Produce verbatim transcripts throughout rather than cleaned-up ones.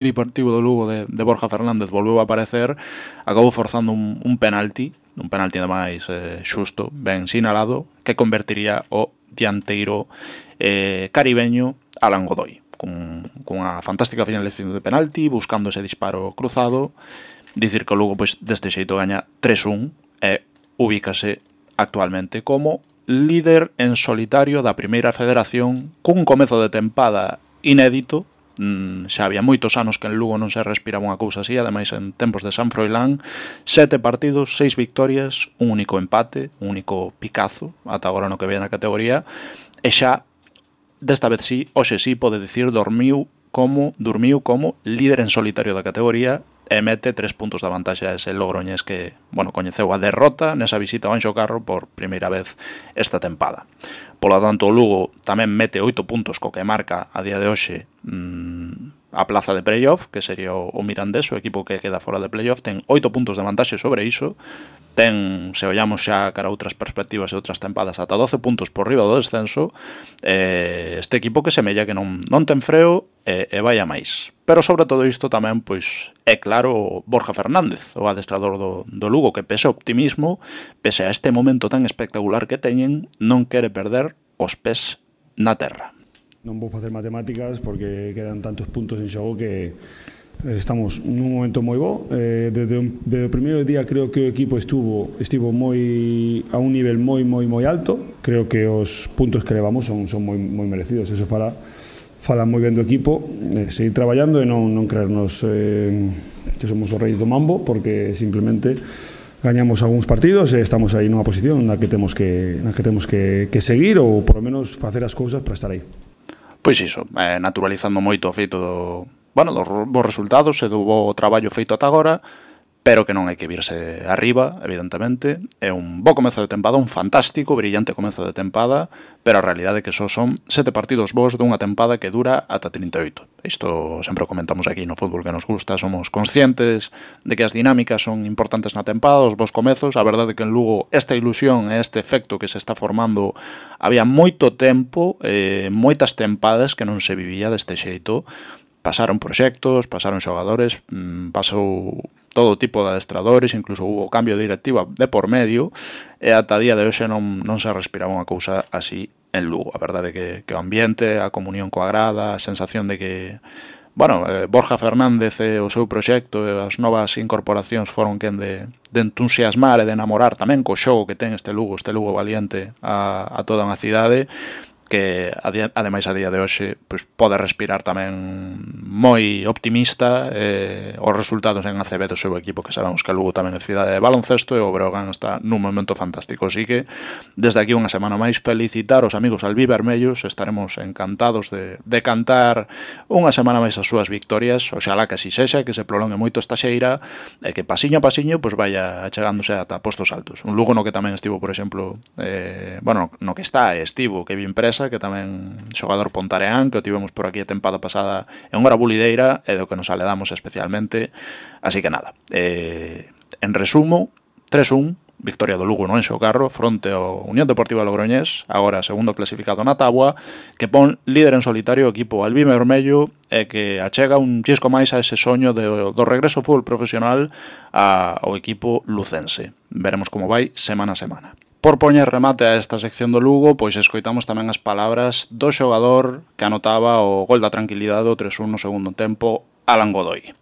Deportivo do Lugo de, de Borja Fernández volveu a aparecer, acabou forzando un, un penalti, un penalti ademais eh, xusto, ben sinalado, que convertiría o dianteiro eh, caribeño Alan Godoy, con, con unha fantástica finalización de penalti, buscando ese disparo cruzado. Dicir que o Lugo pois, deste xeito gaña tres un e ubícase actualmente como líder en solitario da primeira federación, cun comezo de tempada inédito. Xa había moitos anos que en Lugo non se respiraba unha cousa así, ademais en tempos de San Froilán, sete partidos, seis victorias, un único empate, un único picazo, ata agora no que ve na categoría, e xa, desta vez sí, hoxe sí, pode dicir, dormiu como, dormiu como líder en solitario da categoría e mete tres puntos da vantaxe a ese Logroñés que, bueno, coñeceu a derrota nesa visita ao Anxo Carro por primeira vez esta tempada. Pola tanto, o Lugo tamén mete oito puntos co que marca a día de hoxe mmm, a plaza de playoff, que sería o, o Mirandés, o equipo que queda fora de playoff, ten oito puntos de vantaxe sobre iso, ten, se ollamos xa cara a outras perspectivas e outras tempadas, ata doce puntos por riba do descenso, eh, este equipo que semella que non, non ten freo e, e vai a máis. Pero sobre todo isto tamén, pois, é claro Borja Fernández, o adestrador do, do Lugo, que pese ao optimismo, pese a este momento tan espectacular que teñen, non quere perder os pés na terra. Non vou facer matemáticas porque quedan tantos puntos en xogo que estamos nun momento moi bo. Eh, desde, un, desde o primeiro día creo que o equipo estuvo estivo moi a un nivel moi moi moi alto. Creo que os puntos que levamos son, son moi, moi merecidos. Eso fala, fala moi ben do equipo. Eh, seguir traballando e non, non creernos eh, que somos os reis do mambo, porque simplemente gañamos algúns partidos e estamos aí nunha posición na que temos que, na que, temos que, que seguir ou por lo menos facer as cousas para estar aí. Pois iso, eh, naturalizando moito o feito do, bueno, dos bons resultados e do bo traballo feito ata agora, pero que non hai que virse arriba, evidentemente. É un bo comezo de tempada, un fantástico, brillante comezo de tempada, pero a realidade é que só son sete partidos bons dunha tempada que dura ata trinta e oito. Isto sempre o comentamos aquí no fútbol que nos gusta, somos conscientes de que as dinámicas son importantes na tempada, os bons comezos. A verdade é que en Lugo esta ilusión e este efecto que se está formando había moito tempo, eh, moitas tempadas que non se vivía deste xeito. Pasaron proxectos, pasaron xogadores, pasou todo tipo de adestradores, incluso hubo cambio de directiva de por medio, e ata día de hoxe non, non se respiraba unha cousa así en Lugo. A verdade é que, que o ambiente, a comunión coa grada, a sensación de que, bueno, eh, Borja Fernández e o seu proxecto e as novas incorporacións foron quen de, de entusiasmar e de enamorar tamén co xogo que ten este Lugo, este Lugo valiente a, a toda unha cidade, que ademais a día de hoxe pois, pode respirar tamén moi optimista eh, os resultados en A C B do seu equipo, que sabemos que Lugo tamén é cidade de baloncesto e o Breogán está nun momento fantástico. Así que desde aquí unha semana máis felicitar os amigos albivermellos, estaremos encantados de, de cantar unha semana máis as súas victorias, oxalá que así sexa, que se prolongue moito esta xeira e que pasiño a pasiño pois, vaya achegándose ata postos altos. Un Lugo no que tamén estivo, por exemplo, eh, bueno, no que está estivo Kevin Presa, que tamén xogador pontareán, que o tivemos por aquí a tempada pasada en hora bulideira e do que nos aledamos especialmente. Así que nada, eh, en resumo, tres un, victoria do Lugo no Anxo Carro fronte ao Unión Deportiva Logroñés, agora segundo clasificado na táboa, que pon líder en solitario o equipo albivermello e que achega un chisco máis a ese soño de, do regreso ao fútbol profesional ao equipo lucense. Veremos como vai semana a semana. Por poñer remate a esta sección do Lugo, pois escoitamos tamén as palabras do xogador que anotaba o gol da tranquilidade do tres un no segundo tempo, Alan Godoy.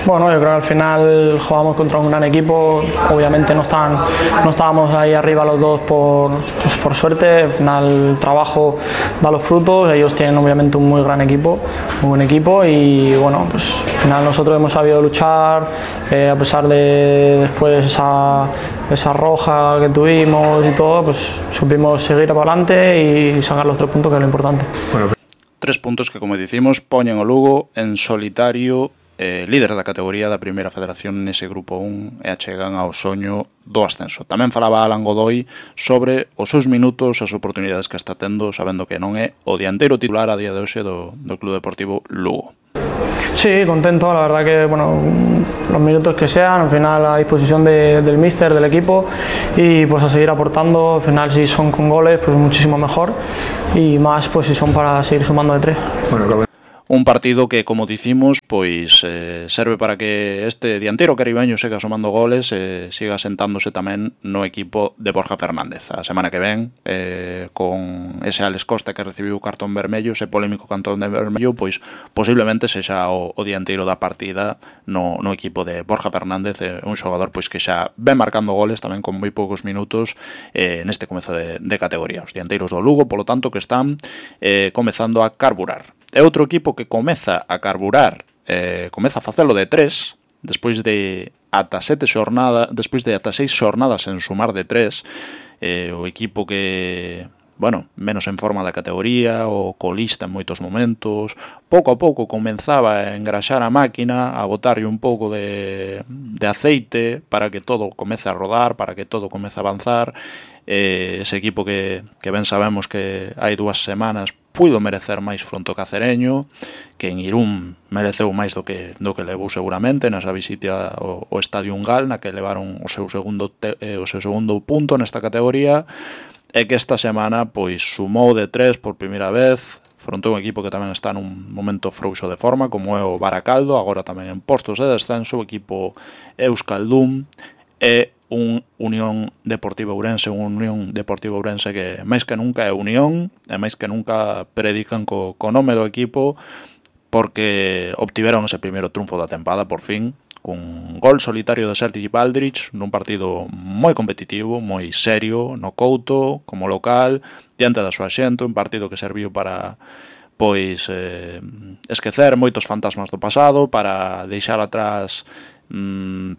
Bueno, yo creo que al final jugamos contra un gran equipo, obviamente no, están, no estábamos ahí arriba los dos por, pues por suerte, al final el trabajo da los frutos, ellos tienen obviamente un muy gran equipo, muy buen equipo y bueno, pues al final nosotros hemos sabido luchar, eh, a pesar de después esa, esa roja que tuvimos y todo, pues supimos seguir para adelante y sacar los tres puntos, que es lo importante. Bueno, tres puntos que, como dicimos, poñen o Lugo en solitario, Eh, líder da categoría da primeira federación nese grupo un e achegan ao soño do ascenso. Tamén falaba Alan Godoy sobre os seus minutos, as oportunidades que está tendo, sabendo que non é o dianteiro titular a día de hoxe do, do Club Deportivo Lugo. Sí, contento, la verdad que bueno, los minutos que sean, al final a disposición de, del míster, del equipo y pues a seguir aportando, al final si son con goles pues muchísimo mejor y más pues si son para seguir sumando de tres. Bueno, Un partido que, como dicimos, pois eh, serve para que este dianteiro caribeño siga sumando goles e eh, siga sentándose tamén no equipo de Borja Fernández. A semana que ven, eh, con ese Alex Costa que recibiu o cartón vermello, ese polémico cartón de vermello, pois posiblemente sexa o, o dianteiro da partida no, no equipo de Borja Fernández, eh, un xogador pois que xa ven marcando goles tamén con moi poucos minutos eh, neste comezo de, de categoría. Os dianteiros do Lugo, polo tanto, que están eh, comezando a carburar. É outro equipo que comeza a carburar, eh, comeza a facelo de tres, despois de ata sete xornadas, despois de ata seis xornadas en sumar de tres, eh, o equipo que, bueno, menos en forma da categoría, o colista en moitos momentos, pouco a pouco comenzaba a engraxar a máquina, a botarlle un pouco de, de aceite para que todo comece a rodar, para que todo comece a avanzar. Eh, ese equipo que, que ben sabemos que hai dúas semanas puido merecer máis fronte ao Cacereño, que en Irún mereceu máis do que do que levou seguramente nesa visita ao, ao Estadio Ungal, na que levaron o seu segundo te, eh, o seu segundo punto nesta categoría, e que esta semana pois sumou de tres por primeira vez fronte a un equipo que tamén está nun momento frouxo de forma, como é o Baracaldo, agora tamén en postos de descenso, o equipo Euskaldun, e un Unión Deportiva Ourense, un Unión Deportiva Ourense que máis que nunca é unión, e máis que nunca predican co, co nome do equipo, porque obtiveron ese primeiro triunfo da tempada, por fin, cun gol solitario de Sergi Baldrich, nun partido moi competitivo, moi serio, no Couto, como local, diante da súa xente, un partido que serviu para pois eh, esquecer moitos fantasmas do pasado, para deixar atrás mmm,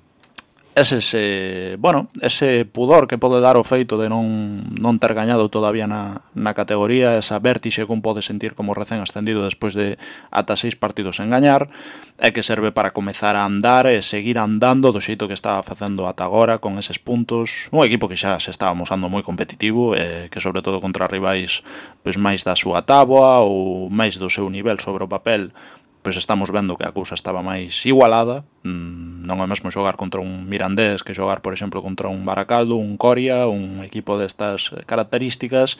ese, ese, bueno, ese pudor que pode dar o feito de non, non ter gañado todavía na, na categoría, esa vértixe que un pode sentir como recén ascendido despois de ata seis partidos en gañar, e que serve para comezar a andar e seguir andando do xeito que estaba facendo ata agora con eses puntos. Un equipo que xa se estaba mosando moi competitivo, e que sobre todo contra rivais pois máis da súa táboa ou máis do seu nivel sobre o papel, pois estamos vendo que a cousa estaba máis igualada. Mm, non é mesmo xogar contra un Mirandés que xogar, por exemplo, contra un Baracaldo, un Coria, un equipo destas características.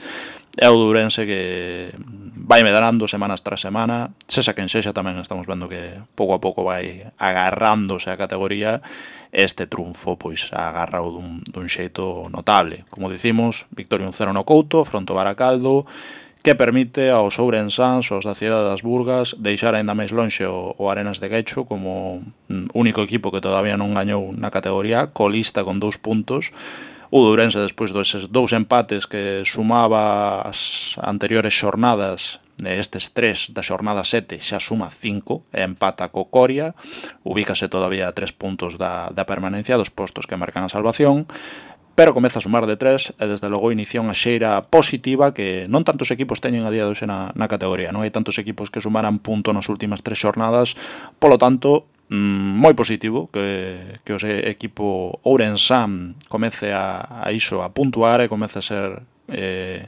É o Ourense que vai medrando semanas tras semana, sexa quen sexa, tamén estamos vendo que pouco a pouco vai agarrándose a categoría. Este triunfo pois agarrao dun, dun xeito notable. Como dicimos, victoria un cero no Couto, fronte ao Baracaldo, que permite aos ourensáns, aos da cidade das Burgas, deixar aínda máis lonxe o, o Arenas de Guecho como único equipo que todavía non gañou na categoría, colista con dous puntos. O Ourense, despois dos dous empates que sumaba as anteriores xornadas, estes tres da xornada sete, xa suma cinco, e empata co Coria, ubícase todavía a tres puntos da, da permanencia dos postos que marcan a salvación, pero comeza a sumar de tres, e desde logo inicia unha xeira positiva que non tantos equipos teñen a día de hoxe na, na categoría. Non hai tantos equipos que sumaran punto nas últimas tres xornadas, polo tanto, mmm, moi positivo que, que o equipo ourensán comece a, a iso, a puntuar, e comece a ser eh,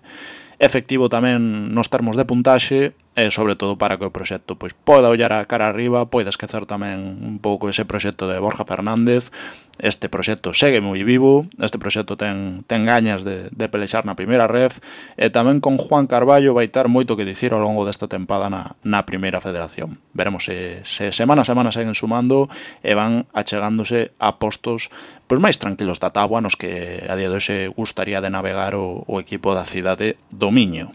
efectivo tamén nos termos de puntaxe, e sobre todo para que o proxecto pois poda ollar a cara arriba, poida esquecer tamén un pouco ese proxecto de Borja Fernández. Este proxecto segue moi vivo, este proxecto ten, ten gañas de, de pelexar na primeira ref, e tamén con Juan Carballo vai ter moito que dicir ao longo desta tempada na, na primeira federación. Veremos se, se semana a semana seguen sumando e van achegándose a postos pois máis tranquilos da táboa, nos que a día de hoxe gustaría de navegar o, o equipo da cidade do Miño.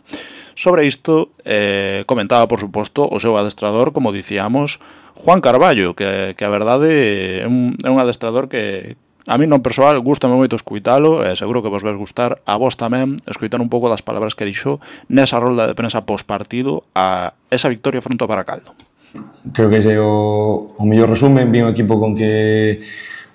Sobre isto, eh, comentaba, por suposto, o seu adestrador, como dicíamos, Juan Carballo, que, que a verdade é un, é un adestrador que a mí non persoal gustame moito escuitalo, e seguro que vos vais gustar a vos tamén escuitar un pouco das palabras que dixo nesa rolda de prensa postpartido a esa victoria fronte ao Baracaldo. Creo que ese é o, o mellor resumen. Vi un equipo con que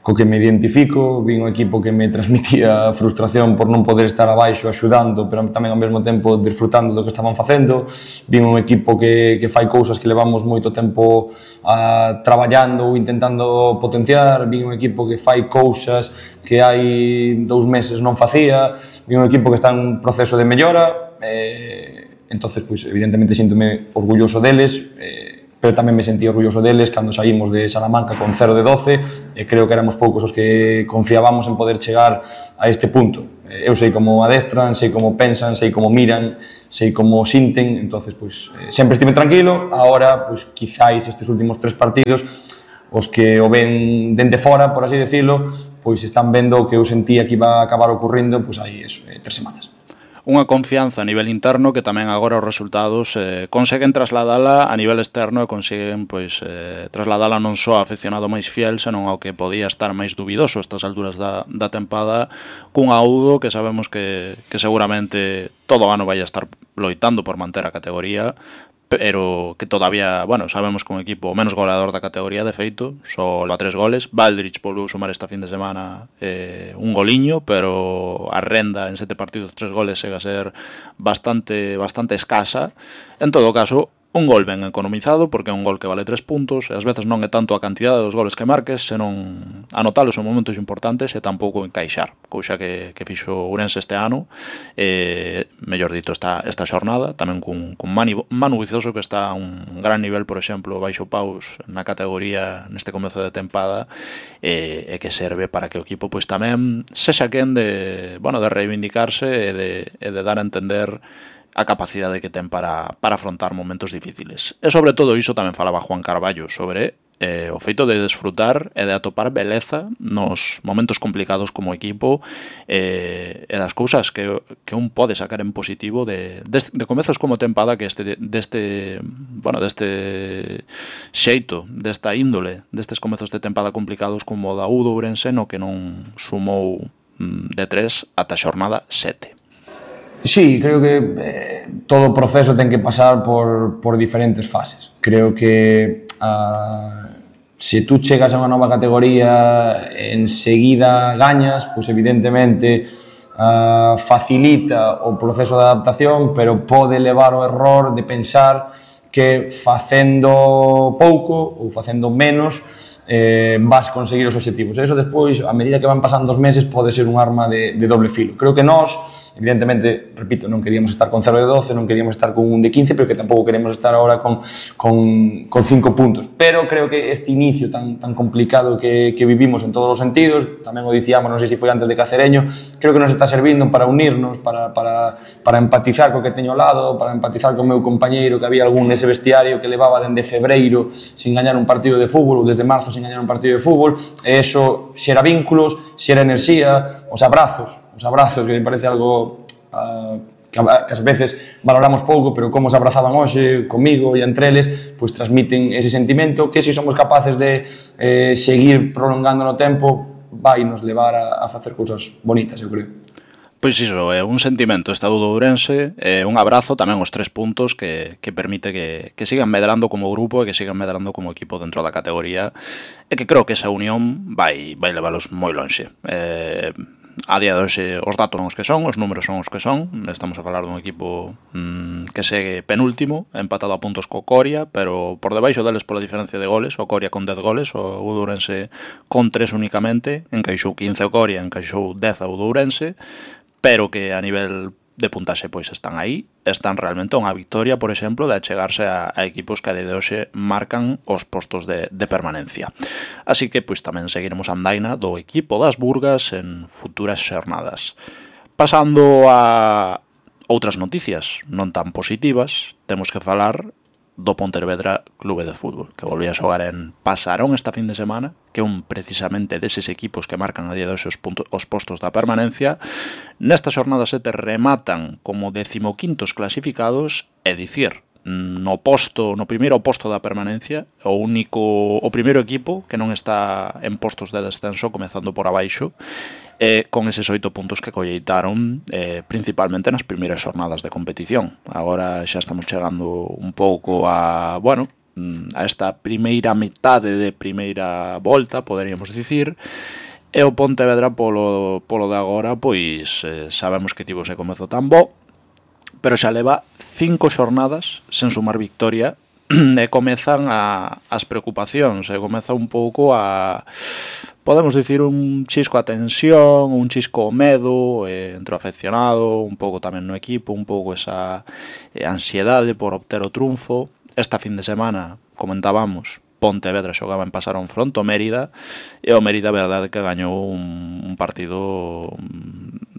co que me identifico, vi un equipo que me transmitía frustración por non poder estar abaixo axudando, pero tamén ao mesmo tempo disfrutando do que estaban facendo. Vi un equipo que, que fai cousas que levamos moito tempo a, traballando ou intentando potenciar. Vi un equipo que fai cousas que hai dous meses non facía. Vi un equipo que está en proceso de mellora. Eh, entonces, pois, evidentemente, síntome orgulloso deles, eh, pero tamén me sentí orgulloso deles cando saímos de Salamanca con cero de doce, e creo que éramos poucos os que confiábamos en poder chegar a este punto. Eu sei como adestran, sei como pensan, sei como miran, sei como sinten, entonces, pois, sempre estive tranquilo. Agora, pois, quizáis estes últimos tres partidos, os que o ven dende fora, por así decirlo, pois están vendo o que eu sentía que iba a acabar ocurrindo, pois aí, eso, eh, tres semanas. Unha confianza a nivel interno que tamén agora os resultados eh, conseguen trasladala a nivel externo e conseguen pois eh, trasladala non só ao aficionado máis fiel, senón ao que podía estar máis dubidoso a estas alturas da, da tempada, cun Audo que sabemos que, que seguramente todo o ano vai a estar loitando por manter a categoría, pero que todavía, bueno, sabemos que un equipo menos goleador da categoría, de feito, só leva tres goles. Valdrich volveu sumar esta fin de semana eh, un goliño, pero a renda en sete partidos, tres goles, chega a ser bastante bastante escasa. En todo caso, un gol ben economizado, porque é un gol que vale tres puntos, e ás veces non é tanto a cantidade dos goles que marques, senón anotalos en momentos importantes e tampouco encaixar, couxa que, que fixo Ourense este ano, eh, mellor dito esta, esta xornada, tamén cun, cun Manu, Manu Vizoso, que está a un gran nivel, por exemplo, baixo paus na categoría neste comezo de tempada, eh, e que serve para que o equipo pois tamén sexa quen de, bueno, de reivindicarse e de, e de dar a entender a capacidade que ten para, para afrontar momentos difíciles. E sobre todo iso tamén falaba Juan Carballo sobre eh, o feito de desfrutar e de atopar beleza nos momentos complicados como equipo eh, e das cousas que, que un pode sacar en positivo de, de, de comezos como tempada que este, deste, bueno, deste xeito, desta índole, destes comezos de tempada complicados como o da Audo Ourense, no que non sumou mm, de tres ata a xornada sete. Sí, creo que eh, todo o proceso ten que pasar por, por diferentes fases. Creo que uh, se tú chegas a unha nova categoría enseguida gañas, pois evidentemente uh, facilita o proceso de adaptación, pero pode levar o error de pensar que facendo pouco ou facendo menos eh, vas conseguir os obxectivos. E iso despois, a medida que van pasando os meses, pode ser un arma de, de doble filo. Creo que nós, evidentemente, repito, non queríamos estar con cero de doce, non queríamos estar con un de quince, pero que tampouco queremos estar agora con, con, con cinco puntos. Pero creo que este inicio tan, tan complicado que, que vivimos en todos os sentidos, tamén o dicíamos, non sei se foi antes de Cacereño, creo que nos está servindo para unirnos, para, para, para empatizar co que teño ao lado, para empatizar co meu compañeiro, que había algún nese vestiario que levaba dende febreiro sin gañar un partido de fútbol, ou desde marzo sin gañar un partido de fútbol, e eso xera vínculos, xera enerxía, os abrazos, os abrazos, que me parece algo uh, que, a, que ás veces valoramos pouco, pero como os abrazaban hoxe comigo e entre eles, pois transmiten ese sentimento que se somos capaces de eh, seguir prolongando no tempo, vai nos levar a, a facer cousas bonitas, eu creo. Pois iso, é un sentimento estado do Ourense, é un abrazo, tamén os tres puntos que, que permite que, que sigan medrando como grupo e que sigan medrando como equipo dentro da categoría, e que creo que esa unión vai, vai levalos moi lonxe. Eh, a día de hoxe os datos son os que son, os números son os que son, estamos a falar dun equipo mmm, que segue penúltimo, empatado a puntos co Coria, pero por debaixo deles pola diferencia de goles, o Coria con dez goles, o Ourense con tres únicamente, encaixou quince o Coria, encaixou dez o Ourense, pero que a nivel de puntaxe pois están aí, están realmente a unha victoria, por exemplo, de achegarse a, a equipos que a día de hoxe marcan os postos de, de permanencia. Así que pois tamén seguiremos a andaina do equipo das Burgas en futuras xornadas. Pasando a outras noticias non tan positivas, temos que falar do Pontevedra Clube de Fútbol, que volvía a xogar en Pasarón esta fin de semana, que é un precisamente deses equipos que marcan a día de hoxe os, puntos, os postos da permanencia. Nesta xornada sete rematan como decimoquintos clasificados, é dicir, no posto, no primeiro posto da permanencia, o único, o primeiro equipo que non está en postos de descenso, comezando por abaixo, e con eses oito puntos que colleitaron eh, principalmente nas primeiras xornadas de competición. Agora xa estamos chegando un pouco a, bueno, a esta primeira metade de primeira volta, poderíamos dicir, e o Pontevedra polo, polo de agora, pois eh, sabemos que tivo ese comezo tan bo, pero xa leva cinco xornadas sen sumar victoria, e comezan a, as preocupacións, e comeza un pouco a, podemos dicir, un chisco a tensión, un chisco o medo eh, entre o afeccionado, un pouco tamén no equipo, un pouco esa eh, ansiedade por obter o triunfo. Esta fin de semana comentábamos, Pontevedra xogaba en Pasarón fronte ao Mérida, e o Mérida, a verdade, que gañou un, un partido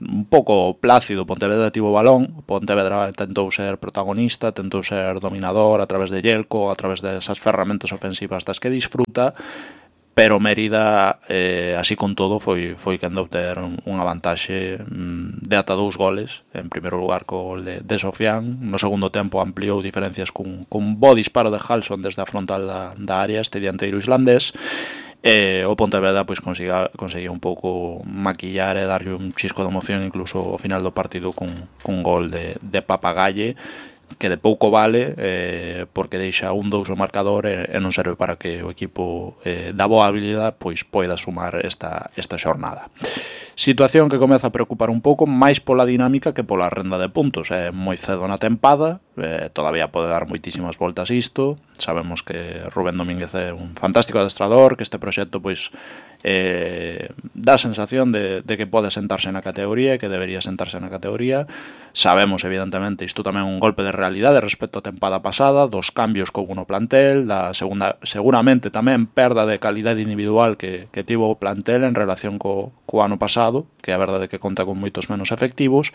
un pouco plácido. Pontevedra tivo balón, Pontevedra tentou ser protagonista, tentou ser dominador a través de Yelko, a través desas ferramentas ofensivas das que disfruta, pero Mérida, eh, así con todo, foi, foi quen de obter unha vantaxe mm, de ata dous goles. En primeiro lugar co gol de, de Sofián, no segundo tempo ampliou diferencias cun, cun bo disparo de Halson desde a frontal da, da área, este dianteiro islandés. E o Pontevedra pois conseguía, conseguía un pouco maquillar e darlle un chisco de emoción incluso ao final do partido cun, cun gol de, de Papagalle, que de pouco vale, eh, porque deixa un dous o marcador e, e non serve para que o equipo eh, da boa habilidade pois poida sumar esta, esta xornada. Situación que comeza a preocupar un pouco máis pola dinámica que pola renda de puntos. É moi cedo na tempada, eh, todavía pode dar moitísimas voltas isto. Sabemos que Rubén Domínguez é un fantástico adestrador, que este proxecto pois eh, dá a sensación de, de que pode sentarse na categoría e que debería sentarse na categoría. Sabemos, evidentemente, isto tamén é un golpe de realidade respecto á tempada pasada, dos cambios que houve no plantel, da segunda, seguramente tamén perda de calidade individual que, que tivo o plantel en relación co, co ano pasado, que a verdade é que conta con moitos menos efectivos,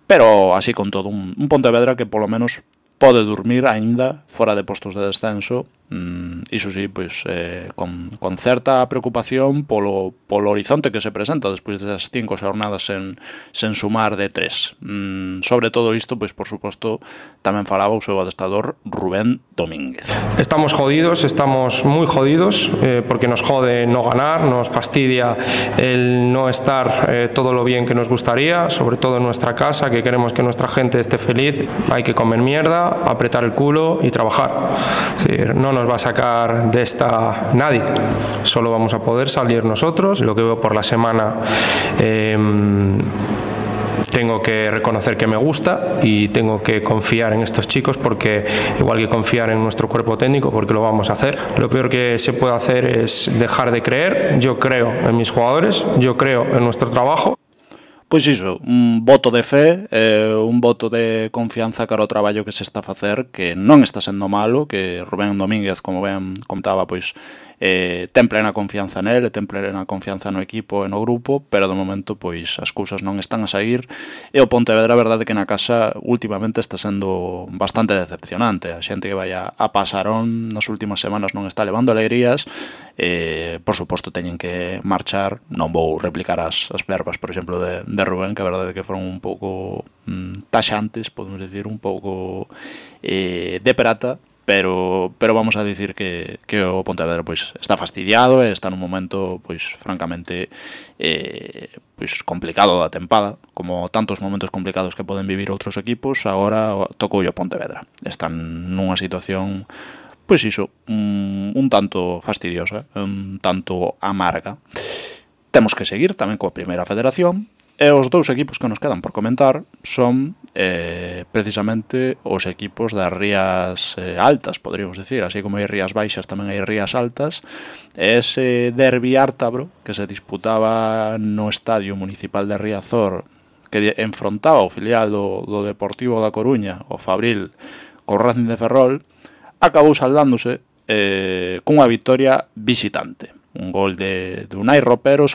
pero así con todo un, un Pontevedra que polo menos pode dormir aínda fora de postos de descenso, mm, iso sí, pois, eh, con, con certa preocupación polo, polo horizonte que se presenta despois das cinco xornadas sen, sen sumar de tres. Mm, sobre todo isto, pois, por suposto, tamén falaba o seu adestrador Rubén Domínguez. Estamos jodidos, estamos moi jodidos, eh, porque nos jode no ganar, nos fastidia el no estar eh, todo lo bien que nos gustaría, sobre todo en nuestra casa, que queremos que nuestra gente esté feliz. Hay que comer mierda, apretar el culo y trabajar. Es decir, no nos va a sacar de esta nadie, solo vamos a poder salir nosotros. Lo que veo por la semana, eh, tengo que reconocer que me gusta y tengo que confiar en estos chicos, porque igual que confiar en nuestro cuerpo técnico, porque lo vamos a hacer. Lo peor que se puede hacer es dejar de creer. Yo creo en mis jugadores, yo creo en nuestro trabajo. Pois iso, un voto de fe, eh, un voto de confianza cara ao traballo que se está a facer, que non está sendo malo, que Rubén Domínguez, como ben contaba, pois eh, ten plena confianza nele, ten plena confianza no equipo e no grupo, pero de momento pois as cousas non están a sair, e o Pontevedra, a verdade que na casa últimamente está sendo bastante decepcionante. A xente que vai a, a Pasarón nas últimas semanas non está levando alegrías, eh, por suposto teñen que marchar. Non vou replicar as, as verbas, por exemplo, de, de Rubén, que a verdade que foron un pouco mm, taxantes, podemos decir, un pouco eh, de prata, pero pero vamos a dicir que, que o Pontevedra pois está fastidiado e está nun momento pois francamente eh, pois complicado da tempada, como tantos momentos complicados que poden vivir outros equipos. Agora tocou o Pontevedra, están nunha situación pois iso, un, un tanto fastidiosa, un tanto amarga. Temos que seguir tamén coa primeira federación. E os dous equipos que nos quedan por comentar son eh, precisamente os equipos das rías eh, altas, podríamos decir. Así como hai rías baixas, tamén hai rías altas. Ese derbi ártabro que se disputaba no Estadio Municipal de Riazor, que enfrontaba o filial do, do Deportivo da Coruña, o Fabril, co Racing de Ferrol, acabou saldándose eh, cunha victoria visitante. Un gol de, de Unai Ropero